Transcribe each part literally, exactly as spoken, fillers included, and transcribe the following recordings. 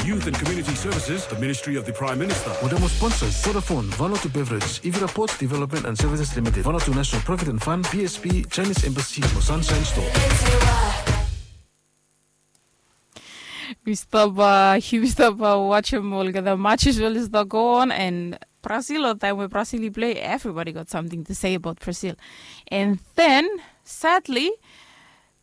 Youth and Community Services, the Ministry of the Prime Minister. Mo dem mo sponsors Vodafone, Vanuatu Beverage, Ivira Ports Development and Services Limited, Vanuatu National Provident Fund, B S P, Chinese Embassy mo Sunshine Store. Mi stap, uh, mi stap, uh, wajem olgeta matches we oli stap go on, and Brazil, o taem we Brazil i plei, everybody got something to say about Brazil. And then, sadly,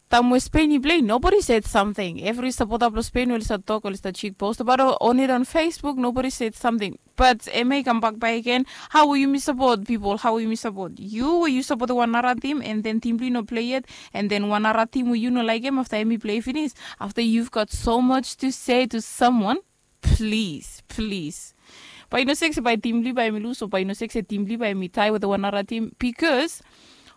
taem we Spain i plei, nobody said something. Evri sapota blong Spain we oli stap tok, oli stap cheat post about o- on it on Facebook, nobody said something. But hemia i kambak bakegen, hao we yumi sapot pipol, hao we yumi sapot? Yu we yu sapot wan nara tim, and then tim blong yu no plei yet, and then wan nara tim we yu no laekem, afta hemi plei finis, afta you've got so much to say to someone, plis, plis. Bae yu no sek se bae tim blong yu bae hemi lus, o bae yu no sek se tim blong yu bae hemi tae wetem wan nara tim, bikos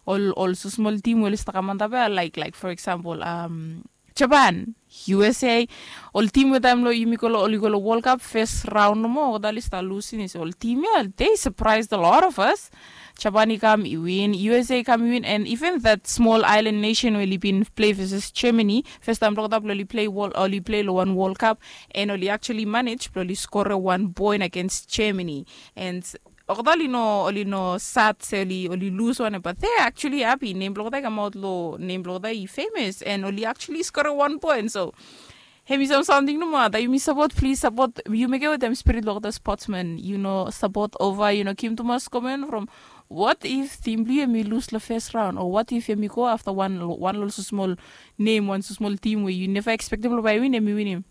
ol, ol smosmol tim we oli stap kam antap ia, laek, laek, for example, um, Japan, U S A, ol tim we taem long yumi go long, oli go long World Cup fes raon nomo, olgeta oli stap lus finis. Ol tim ia, they surprised a lot of us. Japan i kam i win, U S A i kam i win, and even that small island nation we oli bin plei versus Germany, fes taem blong olgeta blong oli plei World, oli plei long wan World Cup, and oli actually manage blong oli skorem wan point against Germany. And olgeta oli no, oli no sad se oli, oli lus wanem, but they actually happy. Nem blong olgeta i kamaot long, nem blong olgeta i famous, and oli actually skorem wan point. So hemi sam- samting nomo ia, taem yumi sapot, plis sapot. Yu mekem wetem spirit blong olgeta sportsman. Yu no sapot ova, yu no givim tumas komen from, what if tim blong yu hemi lus long fes raon, o what if hemi go afta wan, wan long smosmol nem, wan smosmol tim we yu neva ekspektem blong bae i win, hemi winim?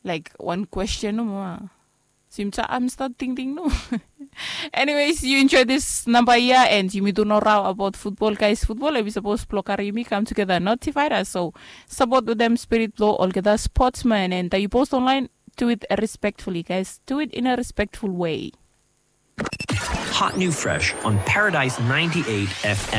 Laek, wan kwesten nomo ia. Sim sa- am stat tingting nomo. Anyways, yu enjoy this namba ia, and yumi tu no rao abaot futbol, gaes. Futbol hemi sapos blong karim yumi kam tugeta, not divide us. So sapot wetem spirit blong olgeta sportsman, and taem yu post online, do it respectfully, gaes. Do it in a respectful way. Hot new fresh on Paradise ninety-eight F M.